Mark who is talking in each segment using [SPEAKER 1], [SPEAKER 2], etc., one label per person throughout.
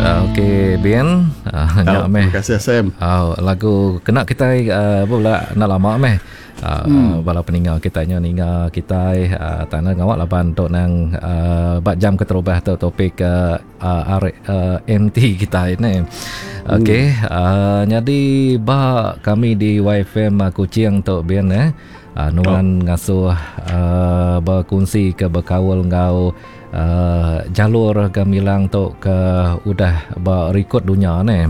[SPEAKER 1] Okey Bin, uh, nya
[SPEAKER 2] Oh,
[SPEAKER 1] meh.
[SPEAKER 2] terima kasih Sam.
[SPEAKER 1] Oh, lagu kena kitai uh, bula enda lama meh. Uh, hmm. bala peninga kita nya ninga kitai uh, tanah ngawak laban tu nang uh, ba jam keterubah tu topik uh, uh, R, uh, MT kitai ni. Okey, hmm. uh, jadi ba kami di YFM uh, Kuching tu Bin eh. Uh, nuan oh. ngasuh uh, berkongsi ke bekaul enggau uh, jalur gemilang tu ke udah ba rekod dunia ni.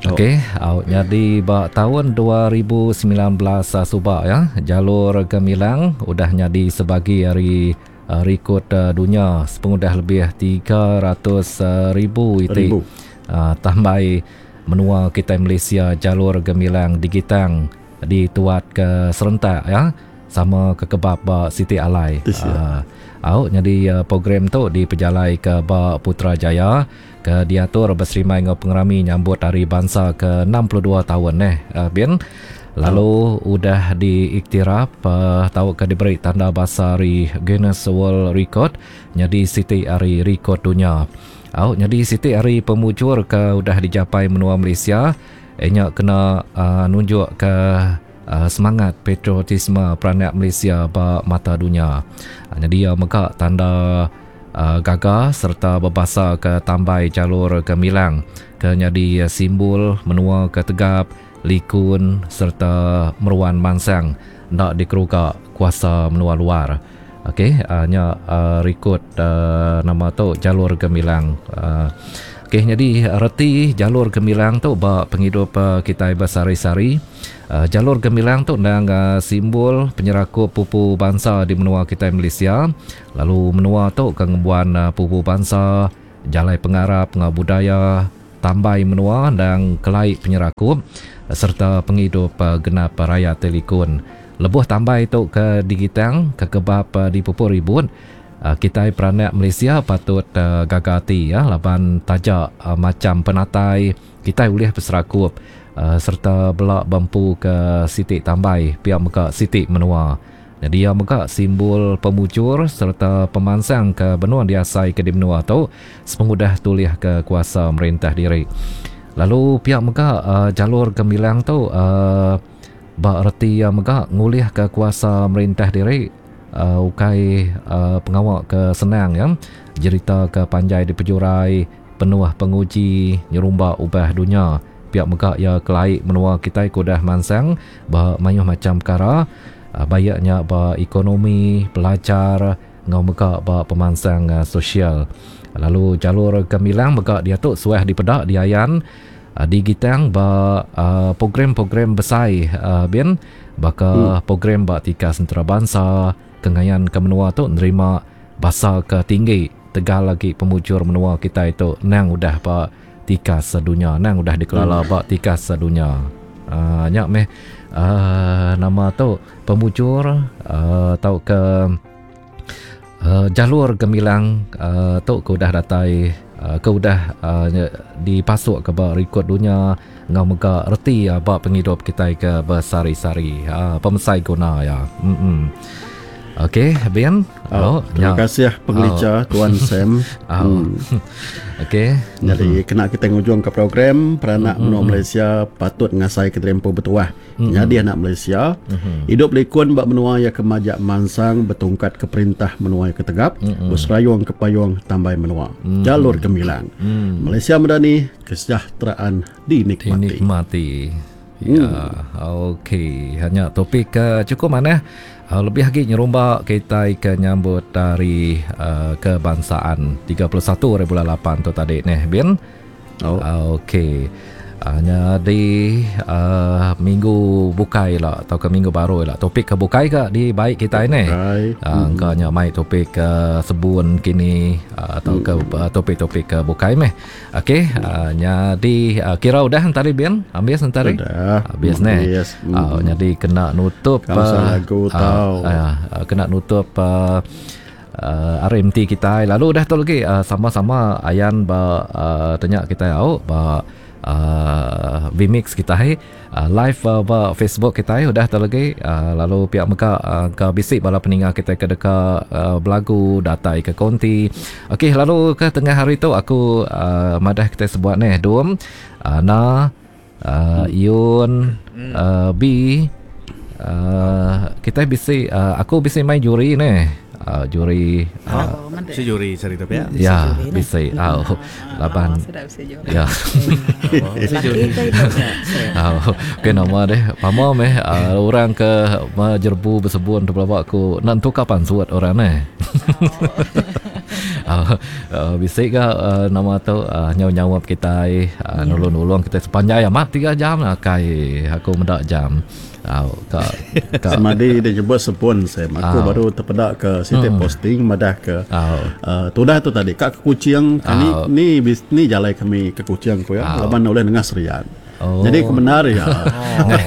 [SPEAKER 1] Oh. Okey, au nyadi ba taun 2019 suba ya, jalur gemilang udah nyadi sebagi ari uh, rekod uh, dunia sepengudah lebih 300 ribu iti uh, tambai menua kitai Malaysia jalur gemilang digitang dituat ke serentak ya sama ke kebab ba siti alai. Uh, au nyadi uh, program tu dipejalai ke ba Putrajaya ke diatur beserimbai enggau pengerami nyambut Hari Bansa ke 62 taun eh uh, bin lalu oh. udah diiktiraf uh, tauka diberi tanda basa ari Guinness World Record nyadi siti ari rekod dunya. Au nyadi siti ari pemujur ke udah dijapai menua Malaysia Iya nya kena nunjukka semangat patriotisme peranak Malaysia ba mata dunya. Nyadi iya mega tanda gaga sereta bebasaka tambai jalur gemilang ke nyadi simbol menua ke tegap, likun sereta meruan mansang enda dikeruga kuasa menua luar. Okey, nya rikod nama tu jalur gemilang. Okey, nyadi reti jalur gemilang tu ba pengidup kitai besehari-sehari. Jalur gemilang tu endang simbol penyerakup pupu bansa di menua kitai Malaysia. Lalu menua tu ke ngembuan pupu bansa, jalai pengarap enggau budaya tambai menua endang kelai penyerakup sereta pengidup genap rayat ti likun. Lebuh tambai tu ke digitang ke kebab dipupur ribut, kitai peranak Malaysia patut gaga ati laban taja macham penatai kitai ulih beserakup sereta bela bempu ke siti tambai pia mega siti menua. Nyadi iya mega simbol pemujur sereta pemansang ke benung diasaika di menua tu sepengudah tulihka kuasa merintah diri. Lalu pia mega jalur gemilang tu Ba reti iya mega ngulihka kuasa merintah diri ukai pengawa ke senang iya. Jerita ke panjai dipejurai penuh penguji nyerumba ubah dunya. Pia mega iya kelai menua kitai ke udah mansang ba mayuh macham pekara baik nya ba ekonomi, pelajar enggau mega ba pemansang sosial. Lalu jalur gemilang mega diatu suah dipeda diayan. Digitang ba program-program besai bin baka program ba tikas entarabansa ke ngayanka menua tu nerima basa ke tinggi tegal agi pemujur menua kitai tu endang udah ba tikas dunya endang udah dikelala ba tikas dunya. Aaa nya meh aaa nama tu pemujur aaa tauka Jalur gemilang tu ke udah datai ke udah dipasukka ba rikod dunya enggau mega reti iya ba pengidup kitai ke besehari-sehari. Pemesai guna iya. Emm. Okey, Bin.
[SPEAKER 2] Oh, terima kasih pengelicha Tuan Sam.
[SPEAKER 1] Oh. Okey.
[SPEAKER 2] Jadi kena kita ngujungka program peranak menua Malaysia patut ngasaika diri empu betuah. Nyadi anak Malaysia, idup likun ba menua iya ke majak mansang betungkat ke perintah menua iya ke tegap, beserayung ke payung tambai menua. Jalur gemilang. Malaysia medani, kesejahteraan dinikmati.
[SPEAKER 1] Dinikmati. Ya, okey. Nya topik ke chukup manah. Lebih agi nyerumba kitai ke nyambut Hari Kebangsaan 31 hari bulan lapan tu tadi neh Bin.
[SPEAKER 2] Oh.
[SPEAKER 1] Okey. Uh, nyadi uh, minggu bukai lah atau ke minggu baru lah topik ke bukai ke di baik kita ini.
[SPEAKER 2] Uh,
[SPEAKER 1] hmm. Engka nya mai topik ke sebun kini uh, atau ke uh, topik-topik ke bukai meh. Okey, uh, nyadi uh, kira udah entari bin, habis entari.
[SPEAKER 2] Udah.
[SPEAKER 1] Habis neh.
[SPEAKER 2] Yes.
[SPEAKER 1] Uh, nyadi kena nutup
[SPEAKER 2] uh, lagu tau.
[SPEAKER 1] Uh, uh, kena nutup uh, RMT kitai lalu udah tu lagi sama-sama ayan ba tanya kitai au ba Uh, vmix kitai uh, live uh, ba Facebook kitai udah tu lagi uh, lalu pihak mega uh, ke bisi bala peninga kitai ke deka uh, belagu datai ke konti. Okey lalu ke tengah hari tu aku uh, madah kitai sebuat neh dum uh, na uh, Yun uh, B uh, kitai bisi uh, aku bisi mai juri neh uh, juri
[SPEAKER 3] uh, Bisi juri sehari tu pia?
[SPEAKER 1] Ya, bisi. Au. Laban. Ya.
[SPEAKER 3] Bisi juri.
[SPEAKER 1] Au. Ke nama deh? Pama meh uh, orang ke jerebu besebun tu pelaba aku nak entuka pansut orang neh. Uh, uh, bisi ga uh, nama tu uh, nyau nyaup kitai uh, nulung-nulung kitai sepanjai amat 3 jam lah kai aku meda jam.
[SPEAKER 2] Au ka ka Semadi dia nyebut sepun Sam. Aku Au. baru tepeda ke siti posting madah ke Au. uh, tudah tu tadi ka ke Kuching ni Au. ni bis, ni jalai kami ke Kuching ku ya Au. laban ulih nengah Serian. Oh. Jadi ke bendar ya.
[SPEAKER 1] Ngai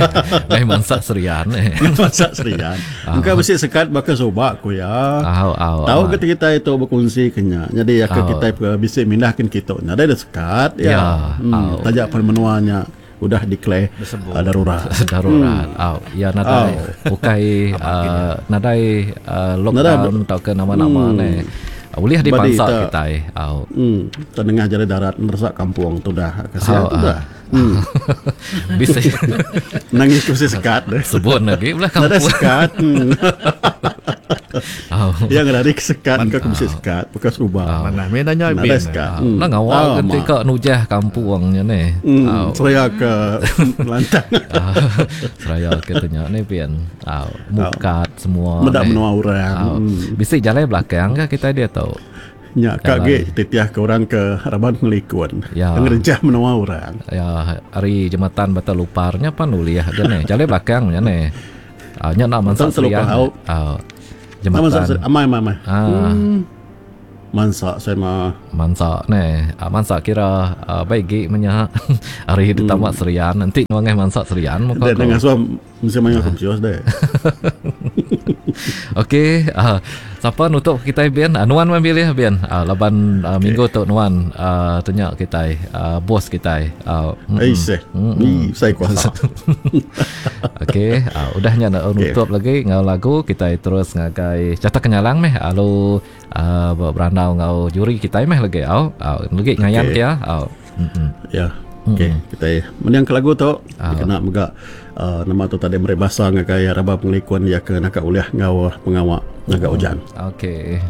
[SPEAKER 1] ngai mansa Serian
[SPEAKER 2] eh. Mansa Serian. Engka bisi sekat baka suba ku ya.
[SPEAKER 1] Au au.
[SPEAKER 2] Tau ke kitai tu bekunsi ke nya. Nyadi ke kitai bisi mindah kin kitu nya. Nadai da sekat ya.
[SPEAKER 1] Ya.
[SPEAKER 2] Hmm, taja pen menua nya. Udah declare darurat.
[SPEAKER 1] Darurat. Hmm. Au, ya nadai au. Ukai uh, nadai uh, lockdown tauka nama-nama hmm. ne. Ulih dipansa kitai.
[SPEAKER 2] Au. Hmm. Tengah jalai darat meresak kampung tu dah. Kasihan tu dah.
[SPEAKER 1] Hmm. Bisa.
[SPEAKER 2] Nangis tu sekat
[SPEAKER 1] deh. Sebut lagi belah kampung.
[SPEAKER 2] Nadai sekat. Hmm. Oh. Yang ngelari ke sekat ke ke bisi sekat bekas ubah.
[SPEAKER 3] Manah meh nanya
[SPEAKER 2] bin. Nadai sekat.
[SPEAKER 1] Hmm. Nah ngawal oh, ke ka nujah kampung nya
[SPEAKER 2] ni. Hmm. Seraya ke lantang.
[SPEAKER 1] Seraya ke tanya ni pin. Au mukat semua.
[SPEAKER 2] Meda menua orang.
[SPEAKER 1] Hmm. Bisi jalai belakang ke kita dia tu.
[SPEAKER 2] Nya ka agi titiah ke orang ke raban pengelikun.
[SPEAKER 1] Ya.
[SPEAKER 2] Ngerencah menua orang.
[SPEAKER 1] Ya, hari jematan Batu Lupar nya pan ulih ga ne. Jalai belakang nya ne. Ah, nya nak mansa
[SPEAKER 2] Serian.
[SPEAKER 1] Ah,
[SPEAKER 2] jembatan. Amai amai amai. Ah. Hmm. Mansa saya mah.
[SPEAKER 1] Mansa ne. Ah, mansa kira ah, baik gi menya hari hmm. ditambah Serian. Nanti nuangeh mansa Serian
[SPEAKER 2] muka. Dek dengan suam mesti main aku kios deh.
[SPEAKER 1] Okey, ah, siapa nutup kita bin? Ah, nuan memilih bin. Ah, laban ah, okay. minggu tu nuan ah, tanya kita ah, bos kita.
[SPEAKER 2] Ah, mm -mm. Mm-mm. Saya kuasa.
[SPEAKER 1] Okey, uh, udah nya nak okay. nutup lagi ngau lagu kita terus ngagai carta kenyalang meh lalu uh, berandau ngau juri kita meh lagi au. Uh, lagi ngayan okay. kia. Au.
[SPEAKER 2] Mm-mm. Ya. Okey, mm-hmm. kita mending ke lagu tu uh. kena mega uh, nama tu tadi meri basa ngagai raba pengelikun ya ke naka ulih ngau pengawa ngaga ujan.
[SPEAKER 1] Okey.